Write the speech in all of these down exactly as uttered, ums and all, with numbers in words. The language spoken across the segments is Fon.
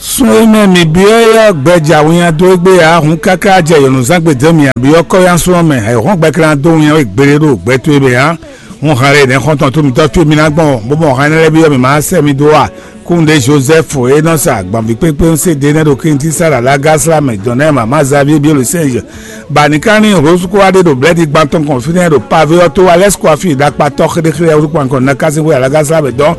Sun e mɛ mǐ byɔ́ é ɔ́, gbɛ ja winnya dó égbé ǎ. Hǔn káká jɛ yɔ̌núzán gbe dó mì ǎ, byɔ́ kɔ́yánsúnɔ mɛ, è hɔn gbɛklan dó winnya we gbeɖé ɖo gbɛ towe mɛ ǎ. Hǔn han lé nɛ̌ xɔ́ntɔn tó mitɔ́ fí mi ná gbɔn, bó mɔ han énɛ́ lɛ́ɛ byɔ́ mǐ má sɛ́ mi dó a? Kúnɖe Jozɛ́fu e nɔ sa agbanví kpékpé ɔ́ se ɖé nɛ́ ɖo Klíntí Sala Lagasla mɛ dɔn nɛ́ mama Zavíe byɔ́ ɖo sɛ́nzɛ. Ba ní ká ní Rosukóa ɖé ɖo blɛ́ɖi gban tɔn kɔn fínɛ́ ɖo pavé ɔ́ tó Alɛ́skua fí ɖakpatɔ́ xéɖéxéɖé wútu kpankɔ ná kásín xwé Lagasla mɛ dɔn.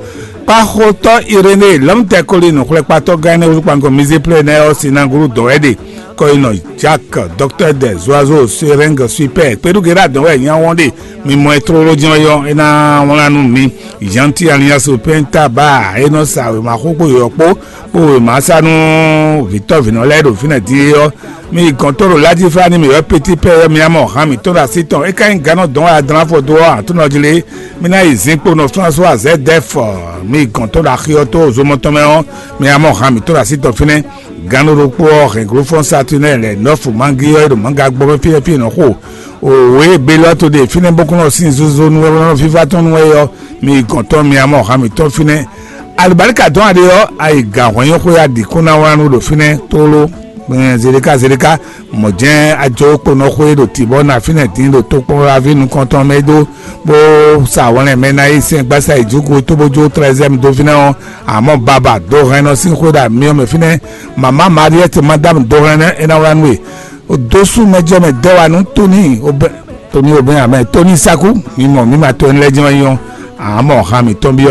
Kpáxotɔ́ Iréné Lɔ̌mtɛkoli nǔxlɛ́kpatɔ́ gán énɛ́ wútu kpánkɔ Mizéplé nɛ́ ɔ́ sín ná glú dɔ̌n wɛ ɖe. Kɔyinɔ Jack, Dɔktɛ́ Dɛ, Zoazo, Serɛ́ng, Swipɛ́ɛ, kpéɖúgéɖá dɔ̌n wɛ nyá wɔn ɖe. Mi mɔ ɛ tlóló jɛ́n ɔ́ yɔ́, é ná wlán nú mi. Janti Aliyasopɛ́n Taba e nɔ sa wěma xó kpó yɔ̌yɔ́ kpó, kpó wěma sa nú vǐtɔ́vǐnɔ lɛ́ɛ ɖo fínɛ́ din é ɔ́, mi yi gɔ̌n tó ɖo Lajiflani mǐ wɛ Petipɛ́ ɔ́, mi ná mɔ han mǐtɔn ɖo así tɔn. É ka nyí gǎn nɔ dɔn wɛ adlán afɔ dó ɔ́, Aklúnɔ jí lé, mi ná yi zinkpo nɔ Flásúa Zɛ́dɛ́f, mi yi gɔ̌n tó ɖo axi ɔ́ tó zomɔ tɔn mɛ ɔ́, mi ná mɔ han mǐtɔn ɖo así tɔn fínɛ́. Gǎn ɖokpó ɔ́ hɛn glófɔ́n Satúnɛ́ lɛ nɔ́fu Mangí ɔ́ e ɖo Manga gbɔ mɛ fí e fí è nɔ xo. Òwe e Belɔ́to ɖe fínɛ́ bó kún nɔ sín zozo nú wɛ bó nɔ fífá tɔn nú wɛ ɔ́, mi yi gɔ̌n tɔn mi ná mɔ han mǐtɔn fínɛ́. Alibálíkà dɔn aɖe ɔ́, ayi gǎn hwɛnyɔ́xwé aɖǐ kún ná wlán nú ɖo fínɛ́ tlóló. Zeɖeká Zeɖeká, mɔ̌ jɛ́n ajɔ kponɔ xwé ɖo tǐbɔ ná fínɛ́ dín ɖo tokpɔnlaví nukɔntɔn mɛ dó, bó sa wlɛn mɛ ná yi sɛn gbasa yi jǔgo tó bó jó trɛzɛ́m dó fínɛ́ ɔ́, amɔ̌ baba dó hɛn nɔ sín xwé ɖo amyɔ mɛ fínɛ́. Mama Mariɛ́t Madámu dó hɛn é ná wlán nú we. Dósú mɛ jɛ mɛ dɛ́ wa nú Tóni Obɛ Tóni Obɛ amɛ Tóni Sákú, mi mɔ mi ma to ɛnlɛ jɛ́n wɛ nyɔ́. Amɔ̌ han mǐtɔn byɔ́